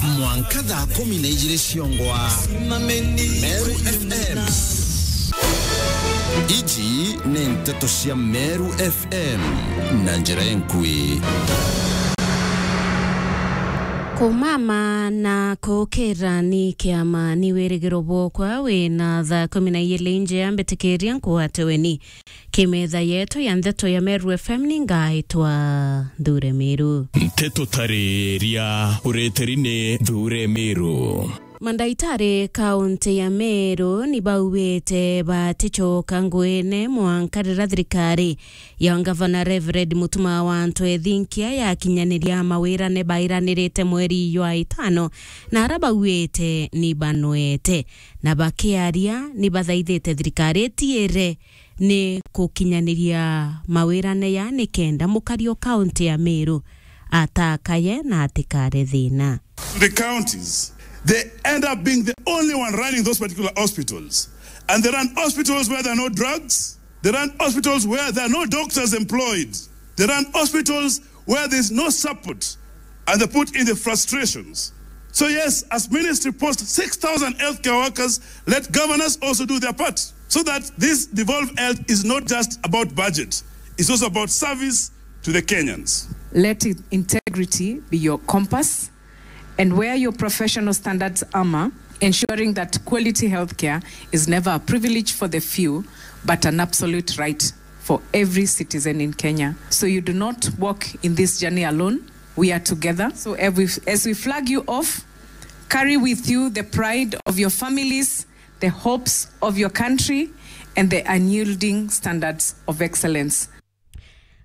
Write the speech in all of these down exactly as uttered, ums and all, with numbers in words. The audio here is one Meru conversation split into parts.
Mwanka thaa kumi na ijiri ciongwa. Meru F M. Iji ni nteto cia Meru F M na njira enkui. Kumama na kukira ni kiama ni wirigiro bwokwa wina thaa kumi na ijiri nje ya mbitikiria nkwate weni. Kimetha yetu ya ndeto ya Meru F M ni ngaitwa Nthure Miru. Nteto tariria ureteri ni Nthure Miru. Mandaitari kaunti ya Meru ni bauite baticoka nguine mwanka riria thirikari ya ngavana Reverend Mutuma wa Antu Ethinkia yakinyaniria mawirane bairanirite mweri jwa itano, na ara bauite ni banwete, na bakiaria ni bathaithite thirikari itiire ni kukinyaniria mawirane ya nikenda mukari o kaunti ya Meru atakaye na atikare thina. The counties, they end up being the only one running those particular hospitals. And they run hospitals where there are no drugs. They run hospitals where there are no doctors employed. They run hospitals where there's no support. And they put in the frustrations. So yes, as ministry post six thousand healthcare workers, let governors also do their part so that this devolved health is not just about budget. It's also about service to the Kenyans. Let it, integrity be your compass and wear your professional standards armor, ensuring that quality healthcare is never a privilege for the few, but an absolute right for every citizen in Kenya. So you do not walk in this journey alone. We are together. So as we, as we flag you off, carry with you the pride of your families, the hopes of your country, and the unyielding standards of excellence.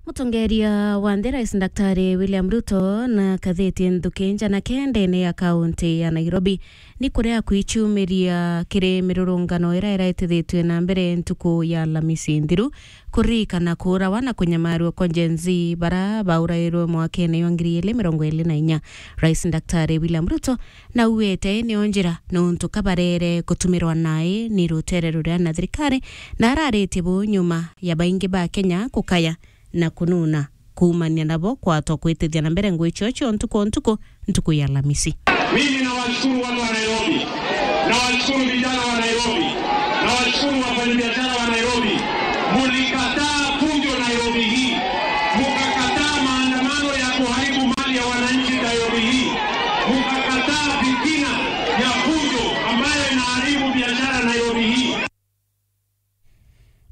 Mutongeria wa nthi, Rais Daktari William Ruto, na katheti nthuki njana kendene ya kaunti ya Nairobi ni kuria kwiciumiria kiri mirurungano iria iraitithitue na mbere ntuku ya Alamisi nthiru, kuririkana kuurawa na kunyamarua kwa Gen Z bara baurairwe mwakene jwa ngiri igiri mirongo iri na inya. Rais Daktari William Ruto na auite nio njira nontu kabarere gutumirwa nai ni rutere ruria na thirikari, na araritie bu nyuma ya baingi ba Kenya kukaya na kununa kuumania nabo kwatwa kwitithia na mbere ngui cio cio ntuku o ntuku, ntuku ya Alamisi. Mimi nawashukuru watu wa Nairobi, nawashukuru vijana wa Nairobi, nawashukuru wafanyabiashara wa Nairobi. Mulikataa fujo Nairobi hii, mukakataa maandamano ya kuharibu mali ya wananchi Nairobi hii, mukakataa fitina ya fujo ambayo inaharibu biashara Nairobi hii.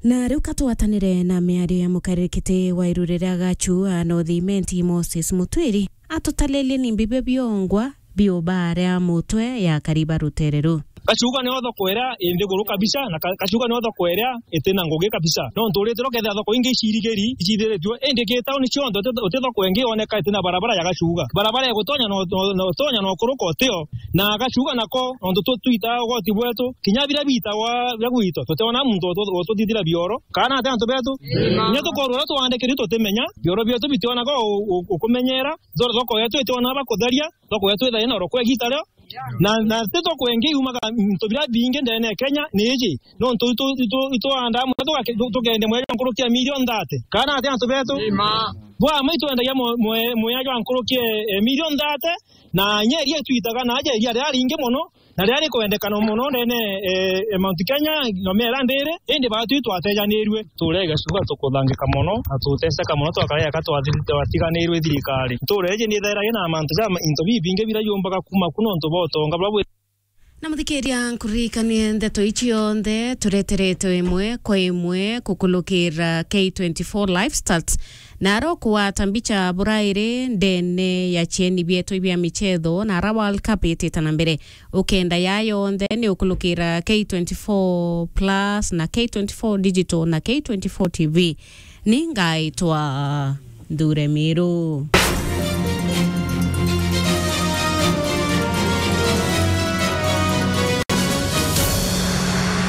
Na riu katwatanire na miario ya mukariri kiti wa iru riria Gachua North Imenti, Moses Mutwiri, atutaririe ni mbibe biongwa biubaria mutwe ya kariba rutere ru. Gachuga nio thoko iria i nthiguru kabisa, na Ka-, Gachuga nio thoko iria iti na ngugi kabisa. Nontu uritiro kethira thoko ingi icirigiri, icithiritue, indi ki tauni cionthe uti, uti thoko ingi yoneka iti na barabara ya Gachuga. Barabara igutonya no, no, no, utonya no kuruka utio, na Gachuga nako, nontu tu-, twitaga ugoti bwetu, kinya biria biitagwa bia gwitwa, tutiona muntu utu-, ututhithira bioro, kana ati antu betu. Amen. Kinya tukorwa uria twandikiri tutimenya, bioro bietu bitionaga u-, u-, ukumenyera, thoko yetu itionaga bakutheria, thoko yetu ithaina oro kwa igita rio. Na, na ti thoko ingi yumaga into biria bingi ndene ya Kenya ni iji. Nontu itu, itu, itwandaa muno tugake-, tu-, tukendia mweri nkuruki ya milioni thate. Kana ati antu betu? Amen. Bwa mwe itwendagia mwe-, mwe-, mwea jwa nkuruki, eh, milioni thate, na inya iria itwitaga na aja iria riria ringi muno, na riria rikwendekana muno ndene, eh, eh, Mount Kenya, na miera ndiri, indi baatwi twatejanirue. Ntuura ya Gachuga tukuthangika mono, na tuteseka mono, twakara eka twathi-, twatiganirwe i thirikari. Ntuura iji ni ithairagia na mantu ja ma-, into bibingi biria biumbaga kuuma ku nontu bwa utonga buria bwi. Na muthikiria, nkuririkanie ndeto ici cionthe tureteretwe imwe kwa imwe kukulukira K twenty-four Live Stats, na ara ukugwata mbicha burairi ndene ya cieni bietu bia michetho, na ara World Cup itite na mbere. Ukenda ya yonthe ni ukulukira K twenty-four Plus na K twenty-four Digital na K twenty-four T V. Ni ngaitwa Nthure Miru.